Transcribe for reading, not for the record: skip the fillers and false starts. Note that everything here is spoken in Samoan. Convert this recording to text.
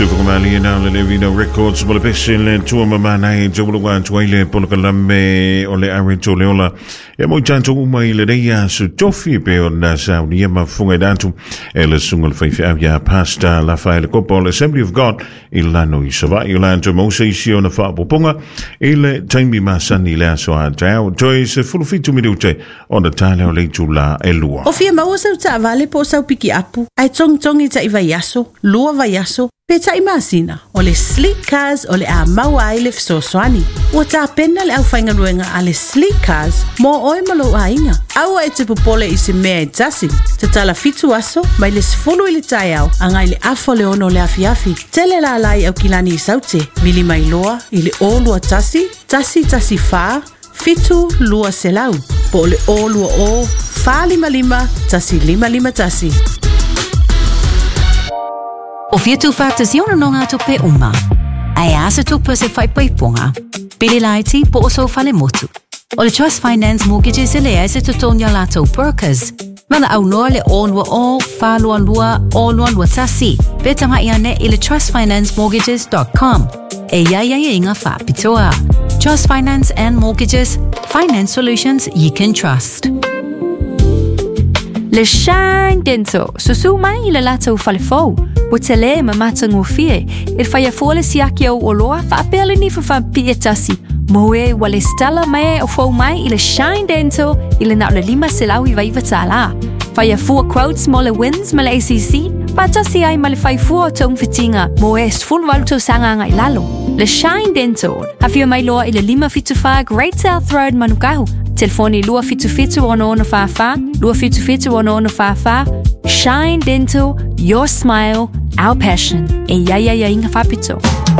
Tufukamali na le Levino Records mo le pese le tua mamana e tauloga atu ai le polokalame o le are tole ola e mo tatou uma i lenei aso tofi pe ona saunia mafuga i atu e le susuga le faifeau ia Pastor Lafaele Kopa o le Assembly of God i lano i Savaii o latou maua se isi ona faaopoopoga i le taimi masani i le aso a taeao toe 17 minute ona tale o le itula e 2. O fia maua sau taavale po o sau pikiapu, ae togitogi ta'i vaiaso, 2 vaiaso, pe ta'i masina, o le Sleek Cars o le a maua ai le fesoasoani. Ua tapena le aufaigaluega a le Sleek Cars mo oe ma lou aiga. Aua e te popole i se mea e tasi. Tatala 7 aso mai le 10 i le taeao agai le 5:30 o le afiafi. Tele lala i Aukilani i Saute, vili mai loa i le 021 114 7 200 po o le 020 455 1551. O fia tuufaatasi ona nogatupe uma. Ae a se tupe se faipaipoga. Pili laiti po o sou falemotu. O le Trust Finance Mortgages e leai se totogi a latou brokers. Valaau loa le 020 422 0221 pe tagai ane i le trustfinancemortgages.com. E iai aiaiga faapitoa. Trust Finance and Mortgages, finance solutions you can trust. Le Shine Dental, susu mai i le latou falefou. Ua tele ma matagofie, e faia fua le siaki au oloa faapea le nifa faapipii e tasi. Mo e ua lesitala mai o fou mai i le Shine Dental i le na o le $599. Faia fua quotes mo le WINZ ma le ACC, faatasi ai ma le fai fua o togafitiga mo e 18 tausaga agai lalo. Le Shine Dental, afio mai loa i le 574 Great South Road Manukau. Telefoni 277 6644 277 6644. Shine Dental, your smile, our passion. E iai aiaiga faapitoa.